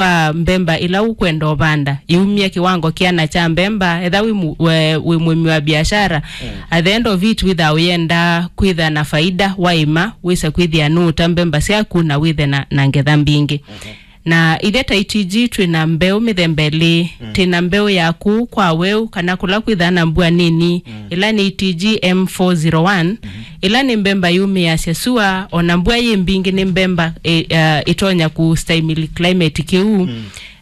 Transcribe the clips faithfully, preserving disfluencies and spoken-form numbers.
wa mbemba ĩla ũkwenda ũvanda, ĩumye kĩwango kĩana kya mbemba, etha wĩ mu-, we-, wĩ mũĩmi wa biashara, at the end of it, wĩthaa ũyenda kwĩtha na faida, waĩma, wĩse kwĩthĩa nũũta mbemba syaku na wĩthe na, na ngetha mbingĩ. Na ithyĩ ta E T G twĩ na mbeũ mĩthemba ĩlĩ. Twĩ na mbeũ ya kũu kwa weũ, kana kũla kwĩthaa na mbua nini, ĩla nĩ E T G M four zero one, ĩla nĩ mbemba yũmĩĩasya sua, o na mbua yĩ mbingĩ nĩ mbemba ĩ-, eh, ĩtonya kũstahimili climate kĩu.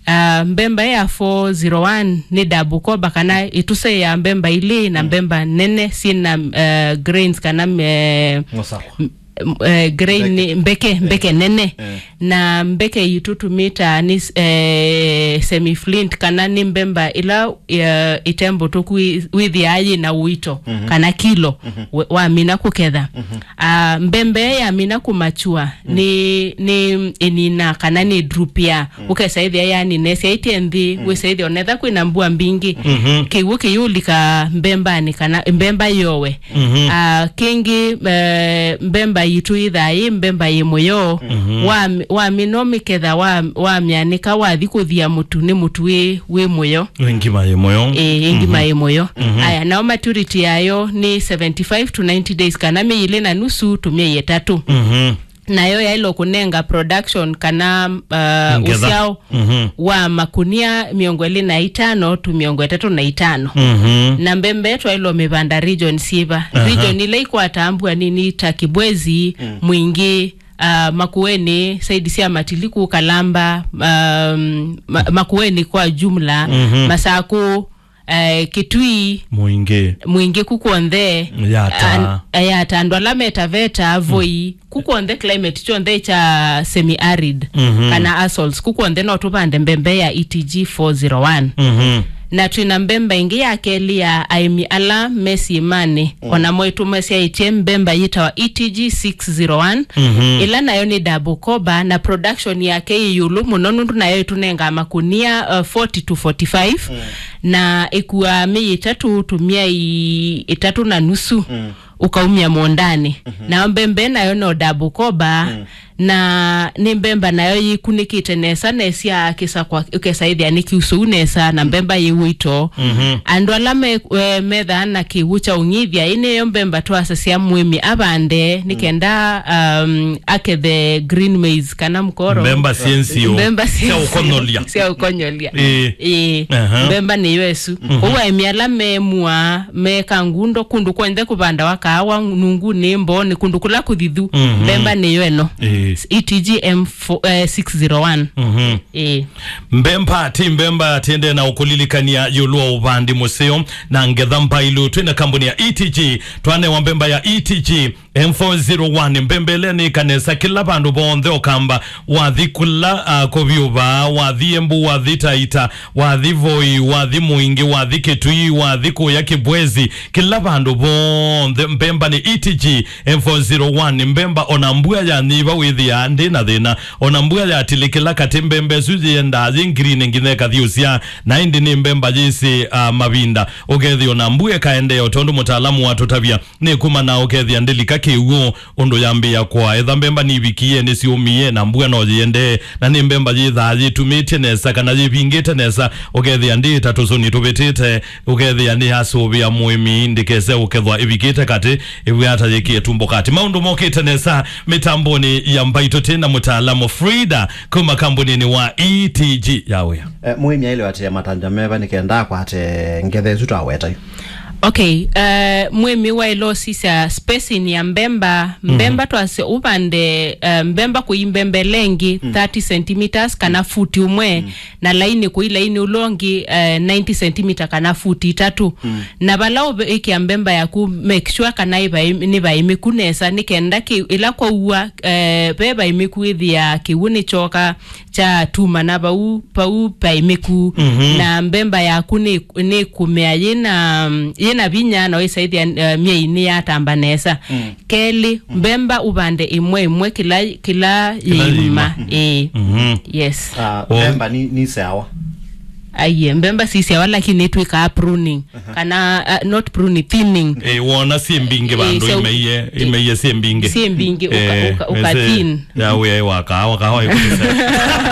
Ah, mbemba ya four zero one nĩ double cover, kana ĩtusa ya mbemba ilĩ na mbemba nene syĩ na, eh, grains kana, eh, Ng'osakwa. M-, eh, grain nĩ mbeke, mbeke nene. Na mbeke itũ tũmĩtaa nĩ, eh, semi flint, kana nĩ mbemba ĩla, eh, ĩtembũtũku wĩ-, wĩthĩaa yĩ na ũito, kana kilo, we-, wamina kũketha. Ah, mbemba ĩyo yamina kũmachua, nĩ, nĩ ĩnina kana nĩ drupia. Ũkesa ĩthĩa yanina, ĩsyaĩtye nthĩ, wĩsa ĩthĩa onetha kwĩna mbua mbingĩ. Kĩw'ũ kĩyũlika mbembanĩ kana mbemba yowe. Ah, kĩngĩ, eh, mbemba yitũ yĩthaa yĩ mbemba yĩ mũyo. Wa, wamina ũmĩketha, wa, wamyanĩka, wathi kũthia mũtu, nĩ mũtu wĩ, wĩ mũyo. Wĩ ngima yĩ mũyo. Ĩĩ, ĩ ngima yĩ mũyo. Aya, nao maturity yayo nĩ seventy-five to ninety days, kana myei ĩlĩ na nusu to myei ĩtatũ. Nayo yaĩlwe kũnenga production kana, uh, ũsyao wa makunia mĩongo ĩlĩ na itano tu mĩongo ĩtatũ na itano. Na mbembe twaĩlwe mĩvanda region syĩva? Region ila ikwataa mbua nini ta Kibwezi, Mwingi, uh, Makueni, saidi sya Matiliku, Kalamba, um, ma, Makueni kwa jumla, Masaku, eh, Kitui, Mwingi. Mwingi ku kwonthe. Yata. An-, eh, Yata, andũ ala me Taveta, Voi, ku kwonthe climate kyonthe kya semi-arid, kana azoles, ku kwonthe no tũvande mbembe ya E T G four zero one. Na twĩ na mbembe ĩngĩ ya kelĩ ya aĩmi ala me syĩmanĩ, o namo ĩtũmesyaĩtye mbembe yĩtawa E T G six zero one, ĩla nayo nĩ double cover, na production yake ĩ ĩũlũ mũno, nũndũ nayo ĩtũnengaa makunia, uh, forty to forty-five, na ĩkuaa myei ĩtatũ to myei ĩtatũ na nusu ũkaumya mũũndanĩ. Nayo mbembe nayo no double cover, na nĩ mbemba nayo yĩkunĩkĩte nesa, nesya kĩsakwa ũkesa ĩthĩa nĩ kĩusũu nesa, na mbemba yĩ ũito. Andũ ala me, eh, methaa na kĩw'ũ kya ũng'ithya, ĩ nĩyo mbemba twasasya mũĩmi avande, nĩ kenda, um, akethe green maize kana mkoro. Mbemba syĩ nziũ. Mbemba syĩ sya nziũ. Ũkonyolya. Sya ũkonyolya. Ĩĩ. Ĩĩ. Mbemba nĩyo ĩsu. Kwoou aĩmi ala me mua, me Kangundo, kũndũ kwonthe kũvandawa kaawa, nungunĩ, mboonĩ, kũndũ kũla kũthithu, mbemba nĩyo ĩno. Ĩĩ. E T G M four, eh, six zero one. Ĩĩ. Mbemba ti mbemba, tiendee na ũkũlilikania ĩũlũ wa ũvandi mũseo na ngetha mbailu. Twĩ na kambuni ya E T G, twanewa mbemba ya E T G M four zero one, mbemba ĩla nĩ kanesa kĩla vandũ vonthe ũkamba, wathi kũla, ah, kũvyũva, wathi Embu, wathi Taita, wathi Voi, wathi Mwingi, wathi Kitui, wathi kũya Kibwezi, kĩla vandũ vonthe mbemba nĩ E T G M four zero one. Mbemba ona mbua yanyiva wĩthĩaa ndĩ na thĩna, ona mbua yatilikĩla katĩ mbemba ĩsu yĩendaa yĩ ngirini nginya ĩkathiũsya, na ĩndĩ nĩ mbemba yĩsĩ, ah, mavinda. Ũkethĩa ona mbua ĩkaendeea o tondũ mũtaalamu watũtavya, nĩ kuma na ũkethĩa ndĩlika kĩw'ũ ũndũ yambĩĩa kũa. Etha mbemba nivikie, nĩsyũmie, na mbua no yĩendee, na nĩ mbemba yĩthaa yĩtumĩtye nesa kana yĩvingĩte nesa, ũkethĩa ndĩ ta tũsũni tũvĩtĩte, ũkethĩa nĩyasũvĩa mũĩmi ndĩkese ũkethwa ĩvikĩte katĩ, ĩvw'ata yĩkĩe tumbo katĩ. Maũndũ mokĩte nesa mĩtambonĩ ya mbaitũ tĩ na mũtaalamu Frida kuma kambuninĩ wa E T G ya wĩa. Eh, mũĩmi aĩle atĩa matandya meva nĩ kenda akwate ngetha ĩsu twaweta yu? Okay, eh, mũĩmi waĩle ũsisya spacing ya mbemba. Mbemba twasya ũvande, eh, mbemba kũi mbembe lengi thirty centimeters kana futi ũmwe, na laini kũi laini ũla ũngĩ, eh, ninety centimeter kana futi itatũ. Na vala ũvĩkĩa mbemba yaku, make sure kana ĩvaĩ-, nĩ vaĩmĩku nesa, nĩ kenda kĩ-, ĩla kwaua, eh, ve vaĩmĩku ĩthĩa kĩw'ũ nĩ kyoka kya tumana vau, vau vaĩmĩku. Na mbemba yaku nĩ, nĩ kũmea yĩna, yĩna vinya na wĩsaĩthĩa, eh, myei nĩ yatamba nesa. Kelĩ, mbemba ũvande ĩmwe ĩmwe kĩla, kĩla yĩima. Ĩĩ. Yes. Ah, mbemba ni, ni sawa. Aiye, mbemba si sawa, lakini twĩkaa pruning. Kana, uh, not pruning, thinning. Eh, wona si mbingĩ, eh, vandũ so, imeiye, imeiye si mbingĩ. Si mbingĩ, ũka, eh, ũka, ũka ese thin. Ya wĩa wa kahawa, kahawa ĩkũtũsea.